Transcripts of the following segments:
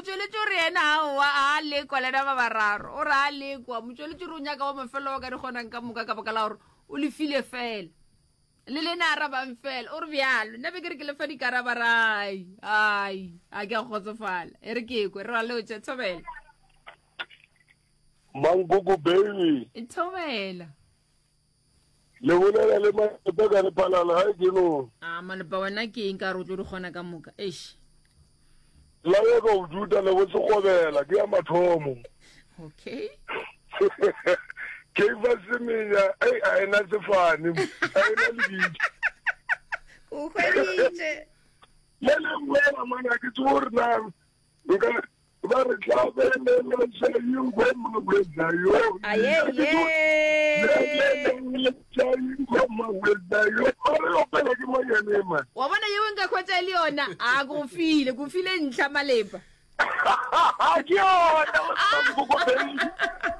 Motšweletši o re yena aowa a lekwa lena ba bararo. O re a lekwa. Motšweletši o re o nyaka wa mafelo wa ka di kgonang ka moka ka baka la gore o lefile fela. Le lena arabang fela. O re bjalo. Nna be ke re ke lefa dikaraba rai. Ai, a ke a kgotsofala. E re ke kwe re ra lotša thobela. Mankoko baby. Thobela. Le bolela le malepa ka lephalala ga ke no. A malepa wena ke eng ka re o tlo di kgona ka moka? Eish. La ya ka o juta le bo sekgobela ke ya mathomo. Okay. Ke fa semenya ei a ena sefane a ena lebitso. O hweditše. Le lengwe la mana ke tsebo gore na nka ba re tlabelela ingoma wetsa yo ingoma wetsa yo ba re opela ke monyane man wa bona yeo nka khwetša e le yona a ko file ko file ntlha malepa ke yona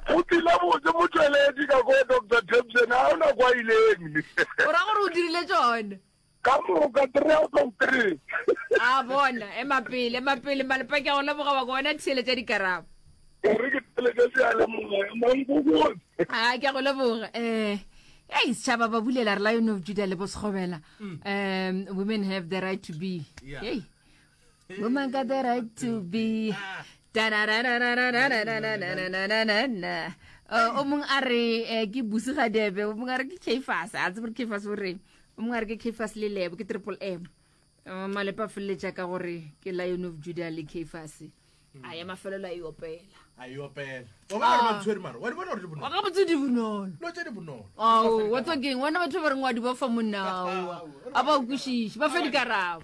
go tlile botse motšweletši ka ko dr tapson a ona kwa ileng o ra gore o dirile tsone Ka moka, 3 out of 3. A bona, ema pele, ema pele, Malepa ke a go leboga wa ko wena theeletša dikarabo. E re ke theeletše seyalemoya, mankokotse. A ke a go leboga. Eh, ei setšhaba ba bulela re Lion of Judah le bo Sekgobela. Um, women have the right to be. Yeah. Hey. Women got the right to be. Ta-ra-ra-ra-ra-ra-ra-ra-ra-ra-ra-ra-ra-ra. Eh, o mongwe a re eh, ke busi gadebe o mongwe a re ke kfas a tsebe gore kfas o reng o mongwe a re ke kfas le lebo ke triple m Eh, malepa a feleletša ka gore ke lion of judah le kfas a ya mafelelo a e opela a e opela wa bona gore ba ntshwere mara wa di bona gore di bonolo ga botse di bonolo dilo tse di bonolo ao wa tswa keng wena batho ba reng wa di ba fa monnaoa a ba o kwešiše ba fe dikarabo.